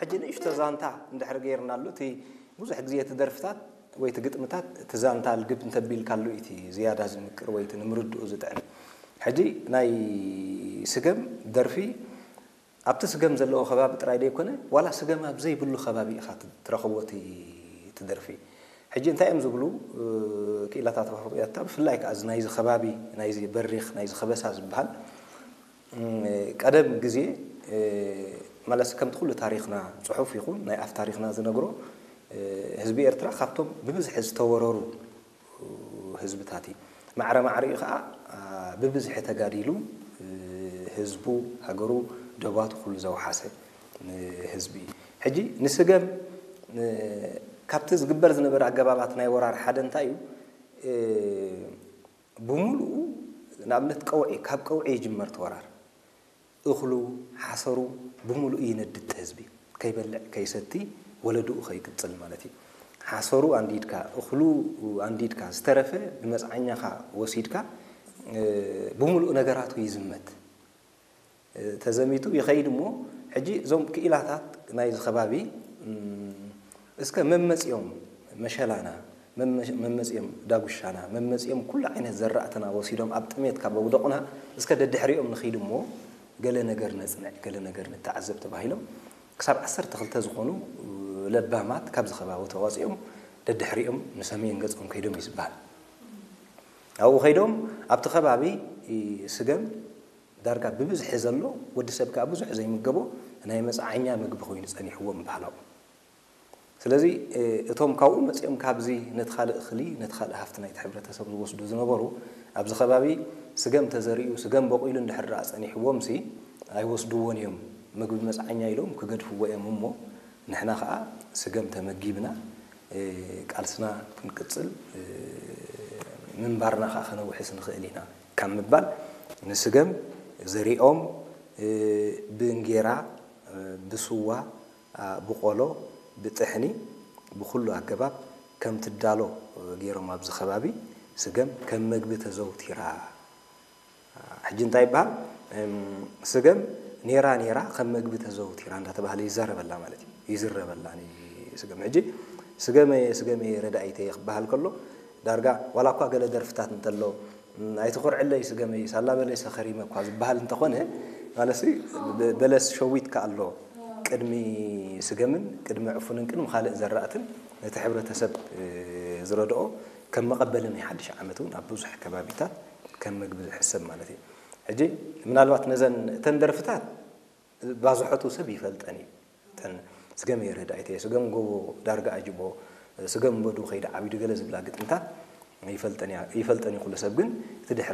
ሕጂ ንእሽቶ ዛንታ እንድሕር ገይርናሉ፣ እቲ ብዙሕ ግዜ እቲ ደርፍታት ወይ እቲ ግጥምታት እቲ ዛንታ ልግብ እንተቢልካሉ እቲ ዝያዳ ዝምቅር ወይ እቲ ንምርድኡ ዝጥዕም። ሕጂ ናይ ስገም ደርፊ ኣብቲ ስገም ዘለዎ ከባቢ ጥራይ ዘይኮነ፣ ዋላ ስገም ኣብ ዘይብሉ ከባቢ ኢኻ ትረኽቦ እቲ፣ እቲ ደርፊ። ሕጂ እንታይ እዮም ዝብሉ፣ እ፣ ክኢላታት ኣፍሪቃ፣ ብፍላይ ከኣ እዚ ናይዚ ከባቢ፣ ናይዚ በሪኽ፣ ናይዚ ከበሳ ዝበሃል፣ እም፣ ቀደም ግዜ፣ እ፣ ማለት ከምቲ ኩሉ ታሪኽና፣ ጽሑፍ ይኹን ናይ ኣፍ ታሪኽና ዝነግሮ፣ እ፣ ህዝቢ ኤርትራ ካብቶም ብብዝሒ ዝተወረሩ ህዝብታት እዩ። ማዕረ ማዕሪኡ ከኣ፣ አ፣ ብብዝሒ ተጋዲሉ፣ እ፣ ህዝቡ፣ ሃገሩ፣ ደባቱ ኩሉ ዘውሓሰ፣ እ፣ ህዝቢ እዩ። ሕጂ ንስገም፣ እ፣ ካብቲ ዝግበር ዝነበረ ኣገባባት ናይ ወራር ሓደ እንታይ እዩ? እ፣ ብምሉኡ ንኣብነት ቀውዒ፣ ካብ ቀውዒ ይጅመር እቲ ወራር። እኽሉ፣ ሓሰሩ ብምሉኡ ይነድድ ህዝቢ። ከይበልዕ፣ ከይሰቲ፣ ወለድኡ ከይቅጽል ማለት እዩ። ሓሰሩ ኣንዲድካ፣ እኽሉ ኣንዲድካ፣ ዝተረፈ ብመጽዓኛኻ ወሲድካ፣ እ፣ ብምሉኡ ነገራቱ ይዝመት። እ፣ ተዘሚቱ ይኸይድ እሞ፣ ሕጂ እዞም ክኢላታት ናይዚ ከባቢ፣ እም፣ እስከ መመጽኦም መሸላና፣ መመ-፣ መመጽኦም ዳጉሻና፣ መመጽኦም ኩሉ ዓይነት ዘራእትና ወሲዶም ኣብ ጥሜት ካብ ኣውደቑና፣ እስከ ደድሕሪኦም ንኺድ እሞ ገለ ነገር ነጽንዕ፣ ገለ ነገር ንተዓዘብ ተባሂሎም ክሳብ ዓሰርተ ክልተ ዝኾኑ ለባማት ካብዚ ከባቢ ተዋጺኦም ደድሕሪኦም ንሰሜን ገጾም ከይዶም እዩ ዝበሃል። ኣብኡ ከይዶም ኣብቲ ከባቢ ስገም ዳርጋ ብብዝሒ ዘሎ ወዲ ሰብ ከኣ ብዙሕ ዘይምገቦ ናይ መጽዓኛ ምግቢ ኮይኑ ጸኒሕዎም ባህላዊ። ስለዚ፣ እ፣ እቶም ካብኡ መጺኦም ካብዚ ነቲ ካልእ እኽሊ፣ ነቲ ካልእ ሃፍቲ ናይቲ ሕብረተሰብ ዝወስዱ ዝነበሩ፣ ኣብዚ ከባቢ ስገም ተዘሪኡ፣ ስገም በቂሉ እንድሕር ደኣ ጸኒሕዎምሲ፣ ኣይወስድዎን እዮም። ምግቢ መጽዓኛ ኢሎም ክገድፍዎ እዮም እሞ፣ ንሕና ኸኣ ስገም ተመጊብና፣ እ፣ ቃልስና ክንቅጽል፣ እ፣ ምንባርና ኸኣ ከነውሕስ ንኽእል ኢና ካብ ምባል፣ ንስገም ዘሪኦም፣ እ፣ ብእንጌራ፣ እ፣ ብስዋ፣ አ፣ ብቆሎ፣ ብጥሕኒ፣ ብኹሉ ኣገባብ ከም ትዳሎ ገይሮም ኣብዚ ከባቢ ስገም ከም መግቢ ተዘውቲራ። ሕጂ እንታይ ይበሃል? እም፣ ስገም ኔራ ኔራ ከም መግቢ ተዘውቲራ እንዳተባህለ ይዛረበላ ማለት እዩ። ይዝረበላ ኒ-፣ ስገም። ሕጂ ስገመየ፣ ስገመየ ረዳኢተየ ክበሃል ከሎ ዳርጋ ዋላ እኳ ገለ ደርፍታት እንተሎ፣ እም፣ "ኣይትኾርዕለይ ስገመይ፣ ሳላ በለሰ ከሪመ" እኳ ዝበሃል እንተኾነ፣ ማለትሲ በ-፣ በለስ ሸዊትካ ኣሎ። ቅድሚ ስገምን ቅድሚ ዕፉንን ቅድሚ ካልእ ዘራእትን ነቲ ሕብረተሰብ፣ እ፣ ዝረድኦ ከም መቐበሊ ናይ ሓድሽ ዓመት እውን ኣብ ብዙሕ ከባቢታት ከም ምግቢ ዝሕሰብ ማለት እዩ። ሕጂ ምናልባት ነዘን፣ እተን ደርፍታት ባዝሖቱ ሰብ ይፈልጠን እዩ። እተን ስገም የረዳኢተ፣ ስገም ጎቦ ዳርጋ ኣጅቦ፣ ስገም በዱ ከይዲ ዓቢዱ ገለ ዝብላ ግጥምታት ይፈልጠን እያ፣ ይፈልጠን እዩ ኩሉ ሰብ። ግን እቲ ድሕረ